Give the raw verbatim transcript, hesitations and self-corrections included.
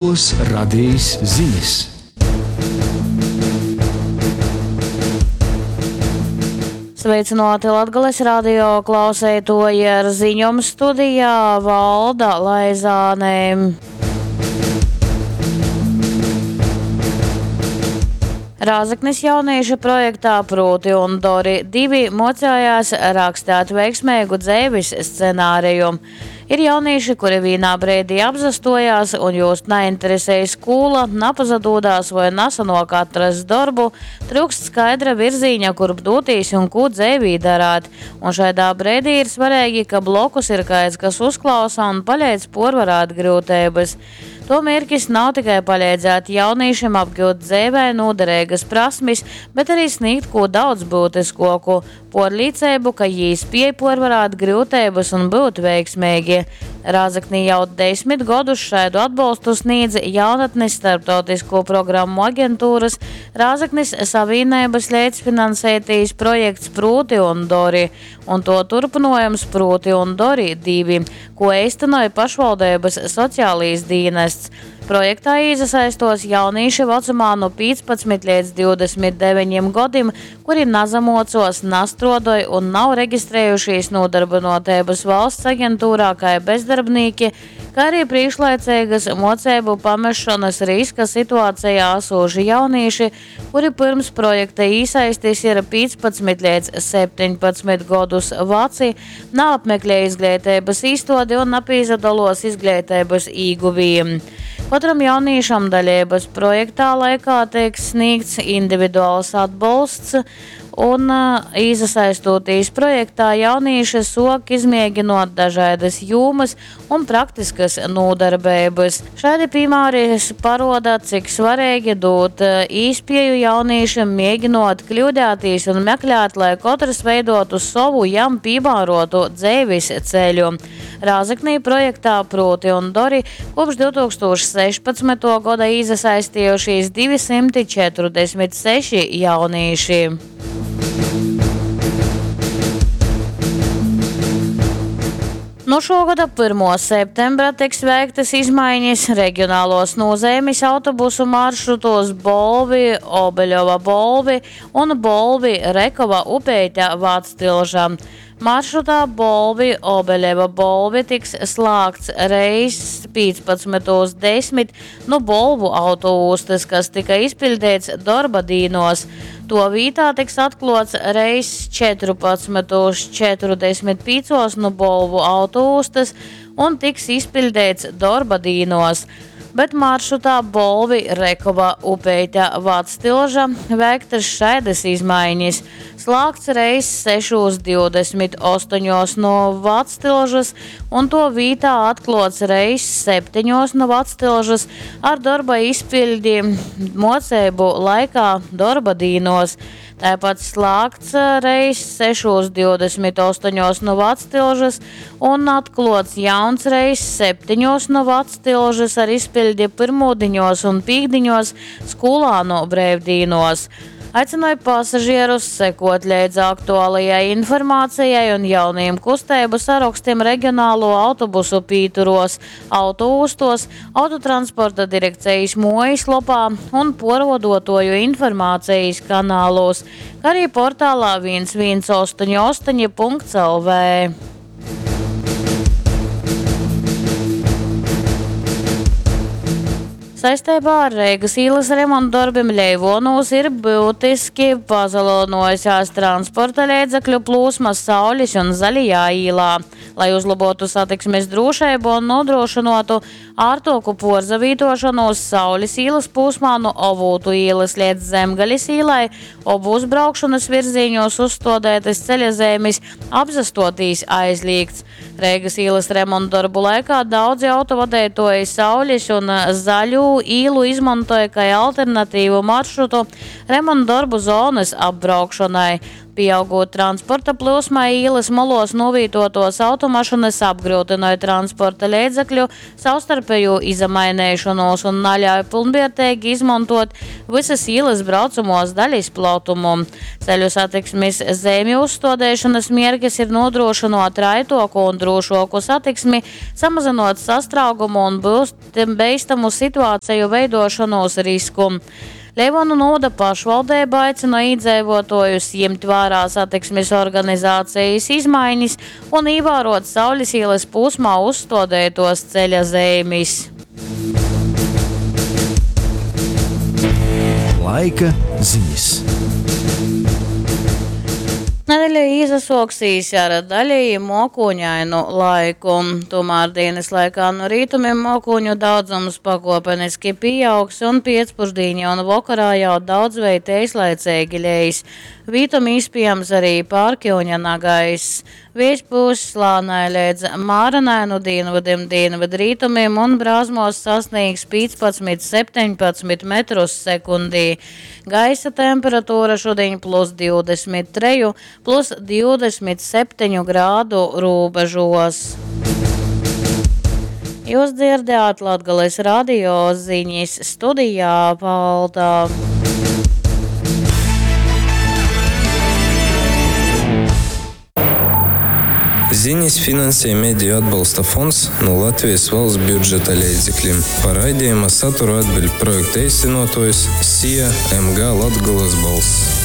Latgolys Radejis zinis. Sveicināti Latgales radio klauseitoji ar ziņom studijā Valda Laizāne. Rāzeknis jaunieši projektā Prūti un Dori divi mocējās rakstāt veiksmīgu dzeivis scenāriju. Ir jaunīši, kuri vīnā breidī apzastojās un jūs nainteresēja skūla, napazadūdās voi nasanok atrast dorbu, tryukst skaidra virzīņa, kurp dūtīs un kū dzeivī darāt. Un šaidā breidī ir svarīgi, ka blokus ir kaids, kas uzklausa un paleidz porvarāt gryuteibys. To mērķis nav tikai palīdzēt jaunīšiem apgūt dzeivē noderīgas prasmes, bet arī sniegt ko daudz būtiskoku – porlīcību, ka jī spiej porvarāt gryuteibys un būt veiksmīgi. Rāzeknī jau desmit godus šādu atbalstu sniedz jaunatnes starptautisko programmu aģentūras Rāzeknis Savīnības līdzfinansētīs projekts Prūti un Dori, un to turpinājums Prūti un Dori divi, ko īstenoja pašvaldības sociālīs dienests. Projektā iesaistos jaunīši vecumā no piecpadsmit līdz divdesmit deviņiem gadiem, kuri nazamocos, nastrodoja un nav reģistrējušies nodarbinotības valsts aģentūrā kā bezdarbnīki, kā arī priekšlaicīgas mocību pamešanas riska situācijā esoši jaunīši, kuri pirms projekta iesaistis ir piecpadsmit līdz septiņpadsmit gadus veci, neapmeklē izglītības īstodi un nepīzadalos izglītības īguvījumi. Katram jaunīšam dalības projektā laikā tiek sniegts individuāls atbalsts, un, ā, iesaistoties projektā jaunīši sok izmēģinot dažādas jomas un praktiskas nodarbības. Šādi piemēri paroda, cik svarīgi dot, ā, īspēju jaunīšiem mēģinot kļūdēties un meklēt, lai katrs veidotu savu jam piemērotu dzīves ceļu. Rāzeknī projektā Prūti un Dori kopš divtūkstoš sešpadsmito gada iesaistījušies divi simti četrdesmit seši jaunīši. No šo gada pirmo septembra tiks veiktas izmaiņas reģionālos nozīmes autobusu maršrutos Bolvi, Obeļova Bolvi un Bolvi, Rekova Upeite Vactilža. Maršrutā Bolvi, Obeļeva Bolvi tiks slēgts reiss piecpadsmitos desmit no Bolvu autoostas, kas tika izpildīts darba dīnos. To vītā tiks atklots reiss četrpadsmitos četrdesmit piecos no Bolvu autoostas un tiks izpildīts darba dīnos. Bet maršrutā Bolvi, Rekova, Upeite, Vactilža veiktas šaidas izmaiņas. Slēgts reiss sešos divdesmit astoņos no Vactilžas un to vītā atklots reiss septiņos no Vactilžas ar darba izpildi mocību laikā darba dīnos. Tāpat slēgts reiss sešos divdesmit astoņos no Vactilžas un atklots jauns reiss septiņos no Vactilžas ar izpildi pirmūdiņos un pīkdiņos skolānu breivdīnos. Aicināju pasažierus sekot līdz aktuālajai informācijai un jaunajiem kustēbu sarakstiem reģionālo autobusu pīturos, autoostos, autotransporta direkcijas mājaslapā un porvodotoju informācijas kanālos, kā arī portālā viens viens astoņi astoņi punkts L V. Saistībā ar Reigas ielas remontdarbiem Leivonos ir būtiski pazalinojusies transporta līdzekļu plūsma Saules un Zaļajā ielā. Lai uzlabotu satiksmes drošību un nodrošinātu ārtoku porzavītošanos Saules ielas posmā no Ovūtu ielas līdz Zemgalis ielai, obūs braukšanas virziņos uzstādētas ceļazīmes apzastotīs aizliegts. Reigas ielas remontdarbu laikā daudzi autovadītāji Saules un Zaļo īlu izmantoja kā alternatīvu maršrutu remontdarbu zonas apbraukšanai. Pīaugot transporta plyusmai, īlys moluos nūvītuotuos automašynys apgryutynoj transporta leidzekļu savstarpejū izamaineišonūs un naļauj pylnvierteigi izmontuot vysys īlys braucamuos dalis plotumu. Ceļu satiksmis zeimju uzstuodeišonys mierkis ir nūdrūšynuot raituoku un drūšuoku satiksmi, samazynuot sastrāgumu un beistamu situaceju veiduošonuos risku. Leivuonu nūvoda pašvaldeiba aicina īdzeivuotuojus jimt vārā satiksmis organizacejis izmainis un īvāruot Saulis īlys pūsmā uzstuodeituos ceļa zeimis. Laika ziņas. Nedeļa īsasuoksīs ar daļēji muokūņainu laiku. Tomēr dienas laikā no rītumiem muokūņu daudzums pakuopeniski pieaugs un piecpušdīņa un vokarā jau daudzveit eislaiceigi leis. Vītom īspējams arī pārkiuņa nagaiss. Viejs pūs lānai leidz mārenai no dienvidiem, dienvidrītumiem un brāzmos sasniegs piecpadsmit septiņpadsmit metrus sekundī. Gaisa temperatūra šodien plus divdesmit treju, plus divdesmit septiņu grādu rūbežos. Jūs dzirdējāt Latgales radio ziņas studijā Valda. Ziņas finansē Mediju atbalsta fonds no Latvijas valsts budžeta līdzekļiem. Par raidījuma saturu atbild projekta īstenotājs S I A M G Latgales balss.